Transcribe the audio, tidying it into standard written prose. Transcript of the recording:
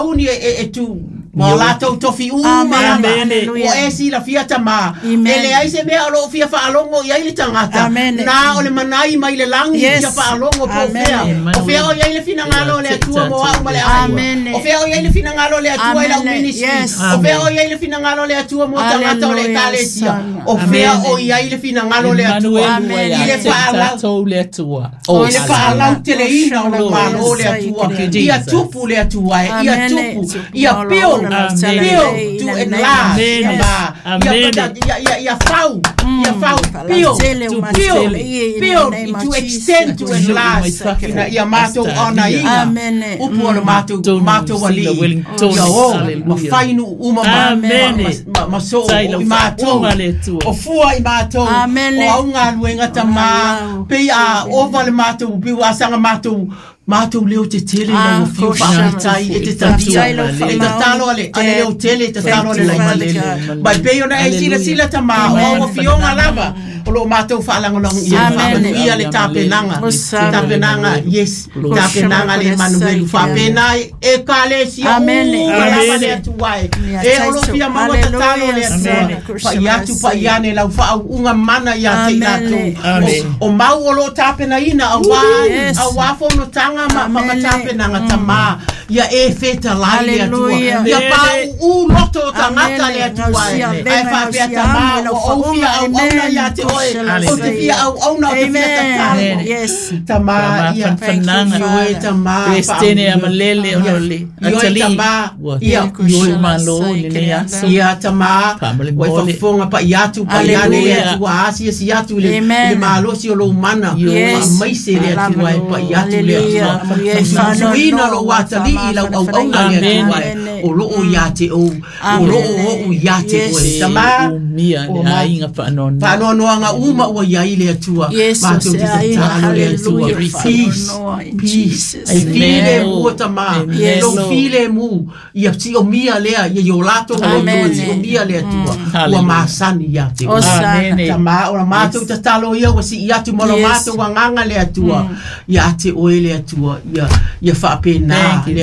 sauni e tu ma o latou tofi uma lava. Ua e silafia tamā, e leai se mea o loo fia faalogo i ai le tagata, na o le manai mai le lagi fia faalogo po o fea. O fea o i ai le finagalo o le Atua mo au ma le aiga. O fea o i ai le finagalo o le Atua i lau ministry. O fea o i ai le finagalo o le Atua mo tagata o le Ekalesia. O fea o i ai le finagalo o le Atua i le faalau le Atua. I le faalauteleina o lou Malo o le Atua. Ia tupu le Atua e, ia tupu, ia build, build to enlarge, ia fau, ia fau, build, build, build, to extend, to enlarge, ina ia matou onaina upu o le matou Alii, ia o ma fai nuu uma ma soo o i matou, o fua i matou, o au galuega tamā, pei a ova le matou, pei ua asaga matou leo tetele i lau afio faafetai e te talia e tatalo ale ale leo tele e tatalo ale laititi mai pei ona e silasila tamā o au afioga lava o loo matou faalagolago i ai faamanuia le tapenaga tapenaga yes tapenaga le Emanuelu faapena Ekalesia uma lava le Atua e e o loo fia maua tatalo le Atua pai atu pai ane lau faauuga mana ia te i latou o mau o loo tapenaina auā auā fonotaga ma tapenaga tamā ia e fetalai le Atua ia pauu loto o tagata le Atua e ae faapea tamā ua ou fia auauna ia te oe ou te fia auauna ou te fia tatalo tamā ia ioe tamā Peresetene a malele ona o le ioe tamā ia ioe malo i lenei aso. Ia tamā ua e faafofoga pai atu pai ane le Atua asiasi atu i le i le malosi o lou mana faamaise le Atua e pai atu le Atua suina lou atalii i lau auauna le Atua e o loo ia te ou o loo o'u ia te oe tamā Umia le aiga faanoanoa. Faanoanoaga uma ua i ai le Atua matou te tatalo le Atua peace peace e filemu tamā lou filemu ia siomia lea ia i o latou loto e siomia le Atua ua masani ia te oe tamā o la matou tatalo ia ua sii atu ma lo matou agaga le Atua ia te oe le Atua ia ia faapena le